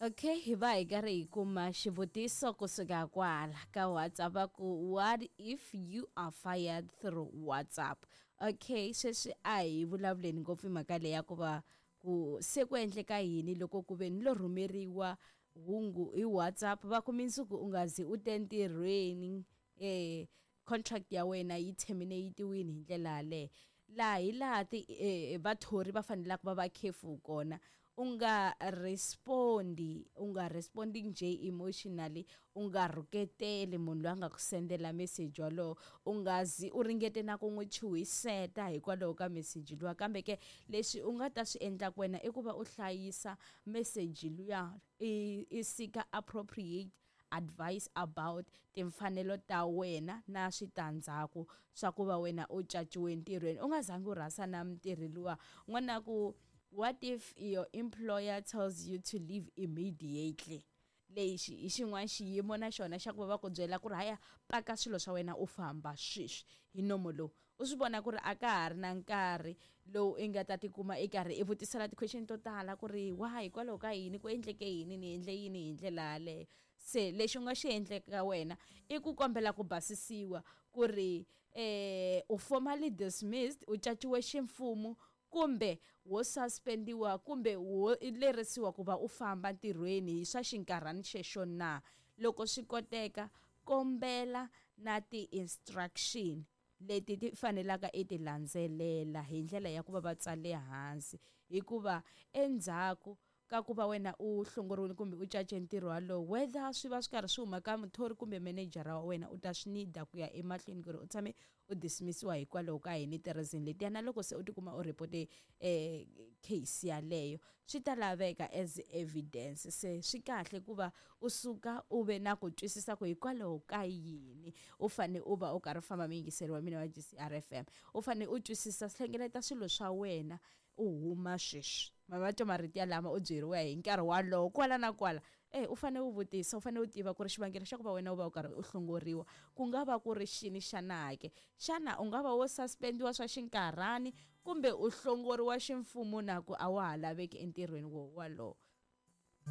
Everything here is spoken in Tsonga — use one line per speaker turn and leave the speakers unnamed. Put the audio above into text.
Okay, hi va hi karhi hi kuma xivutiso kusuka kwala ka WhatsApp va ku, what if you are fired through WhatsApp? Okay, sweswi a hi vulavuleni ngopfu hi mhaka leyi ya ku va ku se ku endleka yini loko ku ve ni lo rhumeriwa hungu hi WhatsApp va ku mindzuku u nga zi u te ntirhweni, contract ya wena yi terminate-iwini hi ndlela yaleyo. Laha hi laha ti vathori va fanelaka va va careful kona. U nga respondi, u nga respondi nje emotionally, u nga rhuketeli munhu loyi a nga ku sendela message walowo, u nga zi u ringete na ku n'wi chuhiseta hikwalaho ka message luwa. Kambe ke leswi u nga ta swi endlaka wena i ku va u hlayisa message luya, i seek-a appropriate advice about timfanelo ta wena na switandzhaku swa ku va wena u caciwe ntirhweni u nga zangi u rhasa na mutirhi luwa. N'wana ku, what if your employer tells you to leave immediately? Lexi hi xin'wana xiyimo na xona xa ku va va ku byela ku ri haya paka swilo swa wena u famba sweswi hi nomo lowu. U swi vona ku ri a ka ha ri na nkarhi lowu i nga ta tikuma i karhi i vutisela ti-question to tala ku ri why, hikwalaho ka yini, ku endleke yini, ni endle yini hi ndlela yaleyo. Se lexi u nga xi endleka wena i ku kombela ku basisiwa ku ri u formally dismissed, u caciwe ximfumo kumbe wo suspendiwa kumbe wo lerisiwa ku va u famba ntirhweni hi swa xinkarhana xexo na. Loko swi koteka, kombela na ti-instruction leti ti fanelaka i ti landzelela hi ndlela ya ku va va tsale hansi, hikuva endzhaku ka ku va wena u hlongoriwile kumbe u cace ntirho walowo, whether swi va swi karhi swi huma ka muthori kumbe manejara wa wena, u ta swi need-a ku ya emahlweni ku ri u tshame u dismissiwa hikwalaho ka yini ti-reason letiya. Na loko se u tikuma u report-e case yaleyo, swi ta laveka as evidence. Se swi kahle ku va u suka u ve na ku twisisa ku hikwalaho ka yini u fane u va u karhi u famba muyingiseri wa mina wa GCR FM, u fane u twisisa, hlengeleta swilo swa wena u huma sweswi. Mavato marito ya lama u byeriwa hi nkarhi walowo kwala na kwala. U fane u vutisa, u fane u tiva ku ri xivangelo xa ku va wena u va u karhi u hlongoriwa ku nga va ku ri xini xana ke? Xana u nga va wo suspendiwa swa xinkarhani kumbe u hlongoriwa ximfumo na ku a wa ha laveki entirhweni wo walowo?